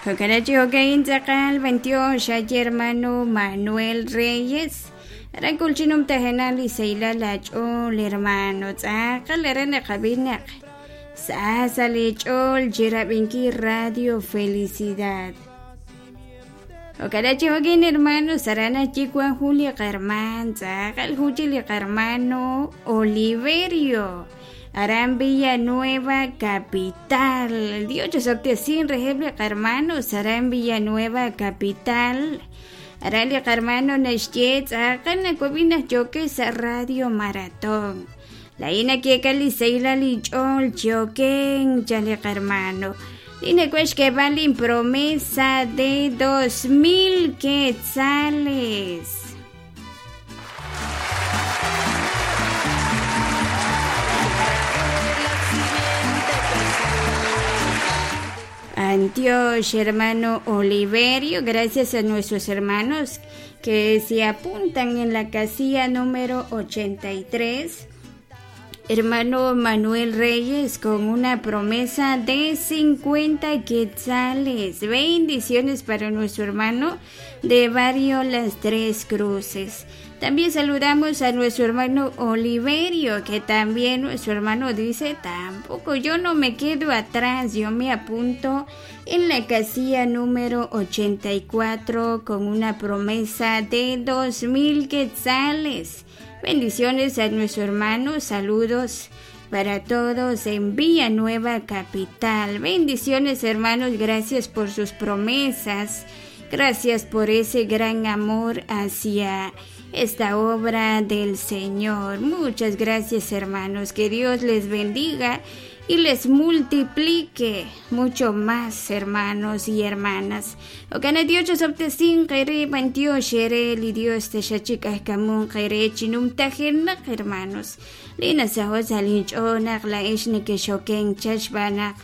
Jo'kan chi jo'ka'in tz'aqal b'antiox xaye hermano Manuel Reyes. Aran kulchinum tajenal li sahilal aach'ool hermano tz'aqal aran naqab'i naq sa sa' li ch'ool chirab'inkil Radio Felicidad. Jo'kan chi jo'kin hermano aran ayi wan jun li qarman tz'aqal jun chi li qarmano Oliverio aran Villanueva Capital. Dios chosob'tesin reheb' li qarmanos aran Villanueva Capital. Aran li qarmano naxye tz'aqal nawab'i naq yookex sa' Radio Maratón. Laa'in nakeekal li sahilal inch'ool chioken chan li qarmano. Li nawaj xk'eeb'al linpromesa de 2000 quetzales. Antioch, hermano Oliverio, gracias a nuestros hermanos que se apuntan en la casilla número 83. Hermano Manuel Reyes con una promesa de 50 quetzales. Bendiciones para nuestro hermano de Barrio Las Tres Cruces. También saludamos a nuestro hermano Oliverio, que también nuestro hermano dice, tampoco yo no me quedo atrás, yo me apunto en la casilla número 84 con una promesa de 2000 quetzales. Bendiciones a nuestro hermano, saludos para todos en Villanueva Capital. Bendiciones hermanos, gracias por sus promesas. Gracias por ese gran amor hacia esta obra del Señor. Muchas gracias hermanos, que Dios les bendiga y les multiplique mucho más hermanos y hermanas. Okana Dios chosoptesin qere bantio shere li Dios tashachik'ajkamun qere chinumtajenaq hermanos. Lina saho salinch'onaq la ix nekexoken chachb'anaq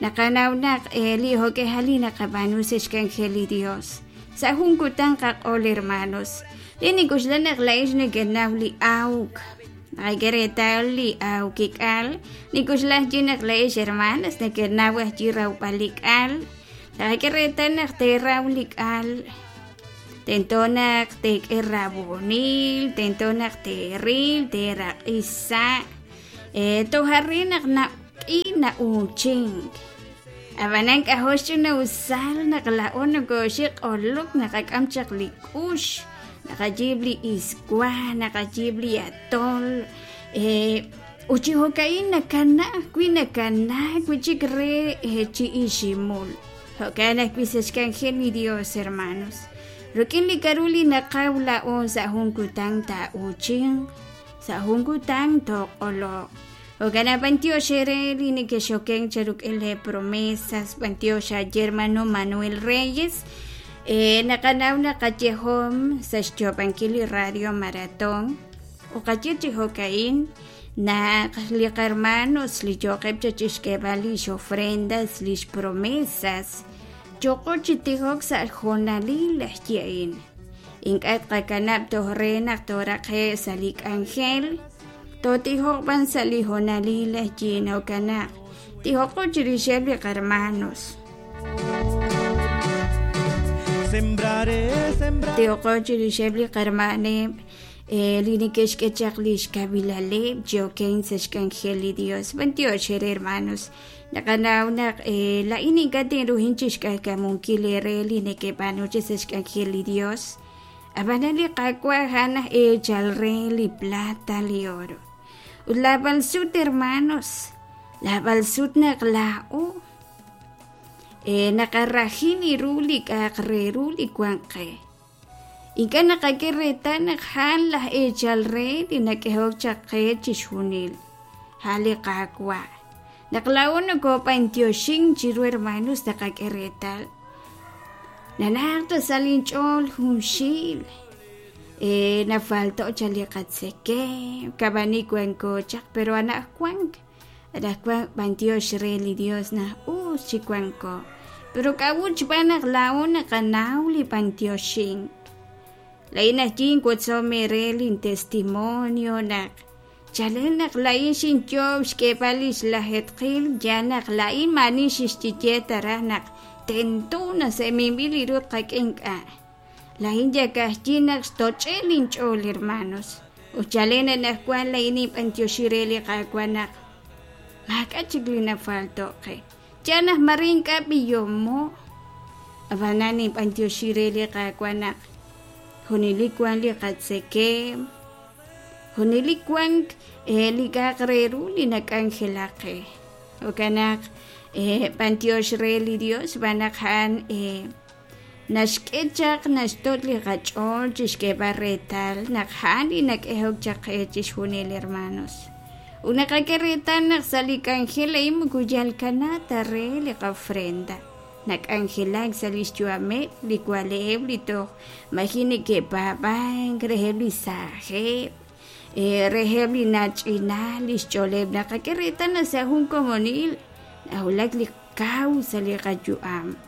naqanawnaq li jok'ejali naqab'anu sexkanjel li Dios. Sa jun kutan qaq'ol hermanos. Lini kuxlanaq la ix nekenaw li awk. Naqak'e reetal li awkik'al nikuxlaj chinaq la ix hermanas nekenaw ajyi rawb'al li k'al. Naqak'e reetal naq teraw li k'al. Tento naq tek'e rabonil, tento naq teril, teraq'isa'. Tojarri naq naq'i na'uuchink. Ab'anan k'ajol ch'ina'usal naq la'o nokoxik q'olok naqak'am chaq li k'ux, naqayiib' li iswa, naqayiib' li atol. Ut chi jo'ka'in nakana ajwi' nakana wi'chik re chi iximul. Jo'kan ajwi' sa' xk'anjel li Dios, hermanos. Rik'in li k'aru li naqaw la'o sa' jun kutan taa'uuchinq, sa' jun kutan tooq'oloq. Jo'kan b'antiox ere li nekexoken cheruk'in le promesas, b'antiox ayer hermano Manuel Reyes. Naqanaw naqayejom sa' xyoob'ankil li Radio Maratón. Uqaye chi jo'ka'in naq li qarmanos li yoqeb' chachixk'eeb'al lix ofrendas, lix promesas. Yoqo chi tijok sa' jonalil ajye'in. Ink'a' tqakanab' toj re naq toraqe' sa' li k'anjel. Totijok b'an sa' li jonalil ajyin jo'kanaq. Tijoqo chirixeb' li qarmanos. Sembraré, sembraré. Tijoqo chirixeb' li qarmaneb'. Li neke'xk'e chaq li xkawilaleb' yoken sa' xk'anjel li Dios. B'antiox ere hermanos. Naqanaw naq la'in ink'a' tinruhin chixk'ajkamunkil ere li neke'b'aanu chi sa' xk'anjel li Dios. Ab'anan li Qaawa' a'an aj eechal re li plata li oro. Ut lab'al sut hermanos, lab'al sut naq laa'o naqarajin ru li k'a'aq re ru li wan qe. Ink'a' naqak'e reetal naq a'an laj eechal re li nak'ehok chaq qe chixjunil. A'an li Qaawa'. Naq laa'o nokob'antioxin chiru hermanos naqak'e reetal. Nanaq ta sa' linch'ool junxil. Nafalto cha li qatzekemq, kab'ani wanko chaq, pero anaqwan b'antiox re li Dios naq us chi wanko. Pero k'a'ut xb'aan naq laa'o naqanaw li b'antioxink. La'in ajyin wotzom ere lin testimonio naq Chalen naq laa'in xinyoob' xk'eeb'al lix lajetqil yaal naq laa'in maani xixye ta raj naq tento naq sa' minb'il li ru tqak'e ink'a'. Laa'in yakajyi naq xtoch'e linch'ool, hermanos. Ut chalen anaqwan laa'in ninb'antioxi re li Qaawa' naq maak'a' chik li nafalto' qe. Yaal naq mare ink'a' b'ihomo, ab'anan ninb'antioxi re li Qaawa' naq junelik wan li qatzekemq, junelik wank li k'a'aq re ru li nak'anjelak qe. Jo'kan naq b'antiox re li Dios xb'aan naq a'an naxk'e chaq naxtoch' li qach'ool chi xk'eeb'al reetal naq a'an li nak'ehok chaq qe chixjunil, hermanos. Ut naqak'e reetal naq sa' li k'anjel a'in moko yal kanaak ta re li qofrenda, nak'anjelak sa' li xyu'ameb' li wale'eb' li toj maji' neke'paab'ank, reheb' li saajeb', reheb' li nach'inal li xch'ooleb'. Naqak'e reetal naq sa' jun komonil nawulak li kaw sa' li qayu'am.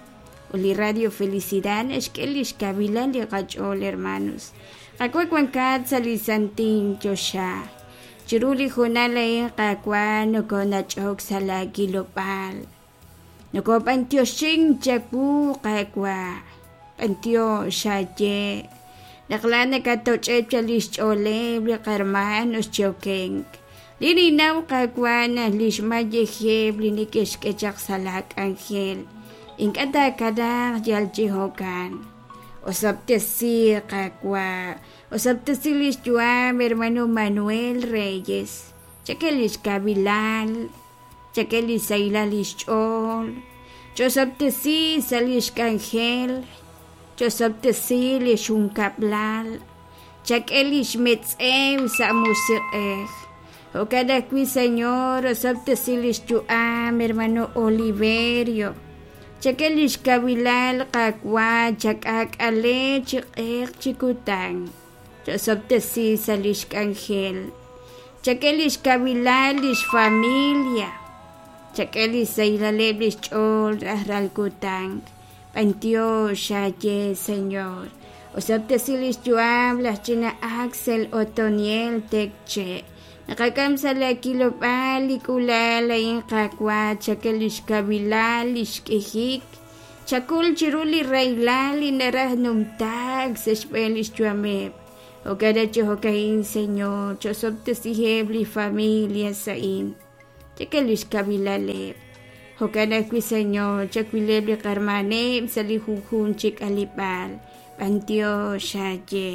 Ut li Radio Felicidad naxk'e li xkawilal li qach'ool, hermanos. Qaawa' wankat sa' li santil choxa. Chiru li hoonal a'in, Qaawa', nokonach'ok sa' laakilob'aal. Nokob'antioxink chawu, Qaawa'. B'antiox xaye naq laa'at nakatoch'eb' chaq li xch'ooleb' li qahermanos chi okenk. Li ninnaw, Qaawa', naq li xmayejeb' li neke'xk'e chaq sa' laak'anjel ink'a' taakanaaq yal chi jo'kan. Osob'tesi, Qaawa', osob'tesi li xyu'am hermano Manuel Reyes. Chak'e li xkawilal, chak'e li xsahilal li xch'ool, ch'osob'tesi sa' li xk'anjel, ch'osob'tesi li xjunkab'lal, chak'e li xmetz'ew sa' musiq'ej. Jo'kan ajwi', Señor, osob'tesi li xyu'am hermano Oliverio. Chak'e li xkawilal, Qaawa', chak'aak'ale chi q'eq chi kutan. Ch'osob'tesi sa' li xk'anjel. Chak'e li xkawilal li xfamilia. Chak'e li xsahilaleb' li xch'ool rajlal kutan. B'antiox xaye, Señor. Osob'tesi li xyu'am laj ch'ina Axel Otoniel Tekche. Naqak'am sa' laakilob'aal li k'uula'al a'in, Qaawa', chak'e li xkawilal li xk'ijik. Chakul chiru li rahilal li naraj numtaak sa' xb'een li xyu'ameb'. Jo'kan chi jo'ka'in, Señor, ch'osob'tesiheb' li familias a'in. Chak'e li xkawilaleb'. Jo'kan ajwi', Señor, chawileb' li qarmaneb' sa' li junjunq chi k'aleb'aal. B'antiox xaye.